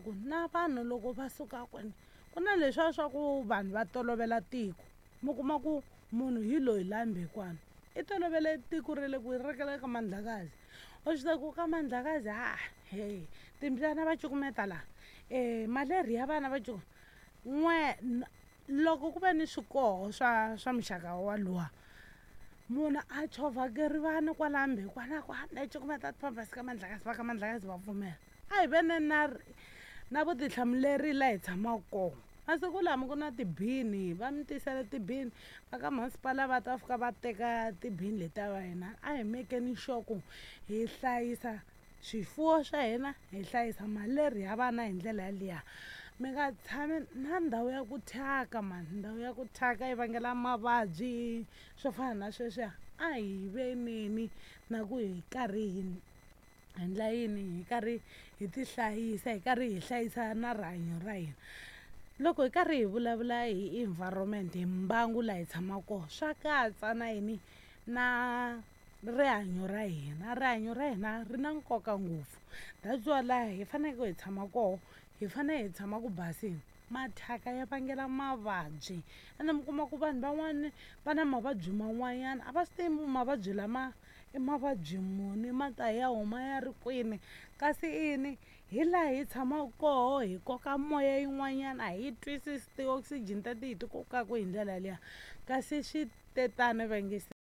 Ku na vanhu loko va suka kwini ku na leswiya swa ku vanhu va tolovela tiko, mi kuma ku munhu hi loyi la Mbekwana i tolovele tiko ra le kwihi ra le ka Mandlakazi. U swi tiva ku ka Mandlakazi ha he timbyana va cukumeta laha, malerhi ya vana va n'we loko ku ve ni swikoho swa muxaka waluwa, munhu a chovha gerivani kwala Mbekwana ku a ni cukumeta ti-pampers ka Mandlakazi, va ka Mandlakazi va pfumela. A hi veneni na na vutihlamuleri la hi tshamaka kona. Masiku lama ku na tibini, va mi tisela tibini, va ka masipala va ta fika va teka tibini letiya va yena. A hi mekeni sure ku hi hlayisa swifuwo swa hina, hi hlayisa malerhi ya vana hi ndlela yaliya. Mi nga tshami na ndhawu ya ku thyaka mani, ndhawu ya ku thyaka yi vangela mavabyi swo fana na sweswiya. A hi veneni na ku hi karhi hi endla yini, hi karhi hi ti hlayisa, hi karhi hi hlayisa na rihanyo ra hina. Loko hi karhi hi vulavula hi environment, hi mbangu laha hi tshamaka kona, swa katsa na yini, na rihanyo ra hina. Rihanyo ra hina ri na nkoka ngopfu, that's why laha hi faneleke hi tshama koho hi fanele hi tshama ku basini. Mathyaka ya vangela mavabyi, ene mi kuma ku vanhu van'wani va na mavabyi man'wanyana a va swi tivi mavabyi lama i mavabyi muni, ma ta ya huma ya ri kwini, kasi ini hi laha hi tshamaka koho hi koka moya yin'wanyana a hi twisisi ti-oxygen teti hi ti kokaka hi ndlela liya, kasi swi te tano va nge.